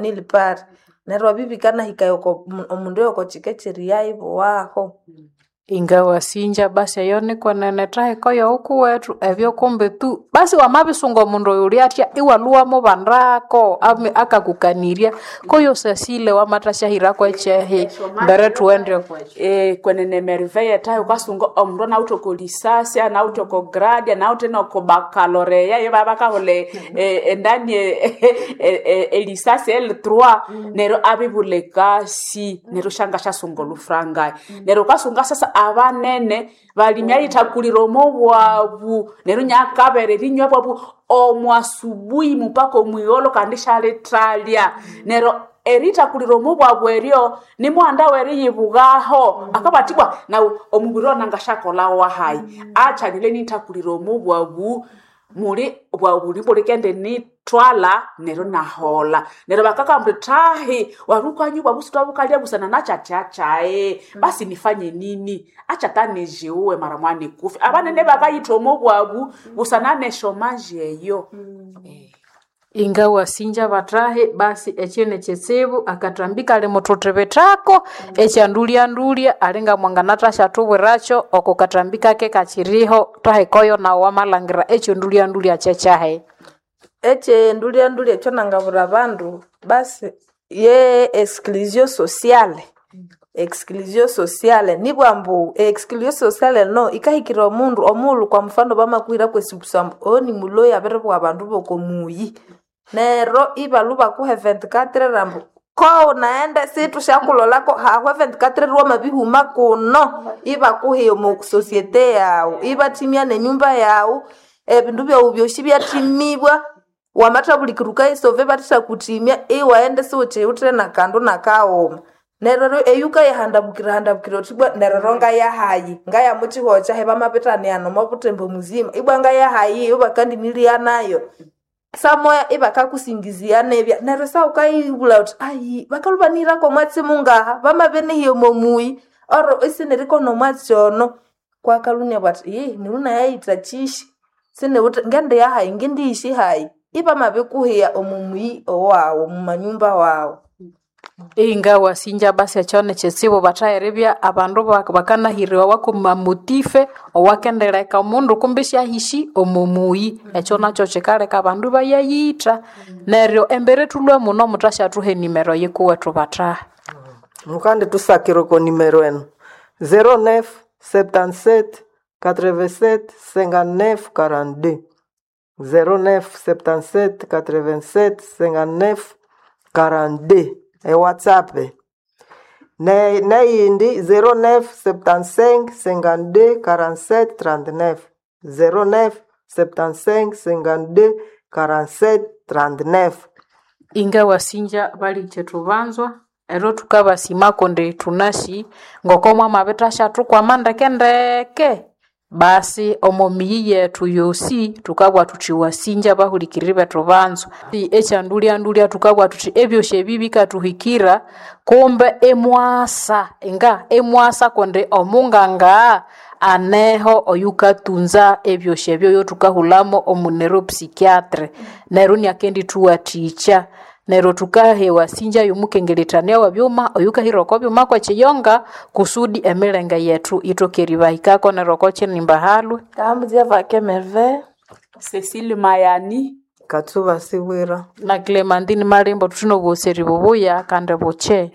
nili pari. Neryo ebyo bikanahikaya oko omundu oyoko kika ekyeriyayibowaho. Ingawasinja basi eyo nikwenene thahiko yoghukuwethu ebyo kumbi tu basi wamabisunga omundu oyo ulyathya iwalhuwa mubandako akakukanirya koyo sasile wamathasyahirako ekyehi mbere thughende okwekyo. Kwenene merveille thahi wukasunga omundu anawithe oko lisasi anawithe oko grade anawithe noko bakaloreya iyo bakahulha endani elisasi L3 neryo abibulha ekasi neryo syangasyasunga olhufrangayi. Neryo wukasunga sasa abanene balimi ayithakulire omo bwabu neryo inakabera erinywa bwabu omwasubuhi mupaka omwigholho kandi isyalithalya. Neryo erithakulira omo bwabu eryo nimughanda weriyibughaho akabugha athi ibwa naghu omubiri ono nangasyakolha wahayi achanile inithakulira omo bwabu muli bwabu bulikendinithwalha neryo inaholha. Neryo bakakabugha ambu thahi wabirikanywa obwabu sithwabukalya busana nakyathya basi nifanye nini acha ata nijiuwe mara moya nikufe. Abanene bakayitha omo bwabu busana nesyomaji eyo. Ingawasinja bathahi basi ekyo nikyitsibu akathambi kali muthuthibithako ekyandulya-ndulya alinga mwanganathasyathubwirakyo oko kathambi kake kakyiriho thahikoyo nawu wamalhangira ekyondulya-ndulya kyekyahi. Ekyendulya ndulya ekyo nangabwira abandu basi ye exclusion sociale. Exclusion sociale nibugha ambu exclusion sociale eno yikahikirira omundu omughulhu kwa mfano bamakuhira kwesi ambu oyo nimuloyi abiribugha abandu boko muyi. Neryo ibalhwa ibakuha e 24 ambu kowunaghenda isithusyakulholako hahwa e 24 wamabihuma kuno ibakuhiya omo societe yaghu ibathimya nenyumba yaghu ebindu byaghu byosi ibyathimibwa wamathabulikira wukayisova ibathethakuthimya iwaghenda isiwukyiwithe nakandu nakaghuma. Neryo eyo wukayihandabukira handabukira wuthi ibwa neryo ngayahayi ngaya mukyihugho kyahi bamabithanika omo buthembo muzima ibwa ngayahayi ibakandinilya nayo. Samoya ibakakusingizia nibya neryo sawukayibulha wuthi ayi bakalhwa ibanihirako omwatsi mungaha bamabinihiya omo muyi oro isinirikona omwatsi ono kwakalhwa inabugha athi ihi neryo nayayitha kyishi siniwithe ngendiya hayi ngindiyishi hayi ibamabikuhiya omo muyi owaghu omo manyumba waghu. Ingawasinja basi ekyo nikyitsibu bathaghiribya abandu bakanahiriwawa kwamamotife owakendileka omundu kumbi isyahishi omo muyi ekyo nakyo kyikaleka abandu ibayayitha neryo embere thulhwe muno muthasyathuthuha enimero yikuwethu bathahi. Mukandithusakira oko nimero eno 09 77 87 59 42 09 77 87 59 42 e WhatsApp. Neyindi 09 75 52 47 39 09 75 52 47 39. Ingawasinja balikye thubanzwa ero thukabasima kundi thunasi ngoko mwamabithashathukwama ndeke ndeke basi omo miyi yethu yosi thukabugha thuthi wasinja bahulikiriri bethu banzwa. Ekyandulya-ndulya thukabugha thuthi ebyosi ebi bikathuhikira kumbe imwasa inga imwasa kundi omunganga aneho oyukatunza ebyosi ebyo oyothukahulhamo omu neuropsychiatre neryo inakendithuwathikya neryo thukaha ewasinja yomukengerethania webyuma oyukahira oko byuma kwekiyonga kusudi emilenge yethu ithoke eribahikako neryo oko kyinimba halwe. Ngambuzya vake Merveille. Cecile Mayani. Katsuba Sibwira. Na Clementine Malimbo thuthune obwoseri bubuya kandi bukye.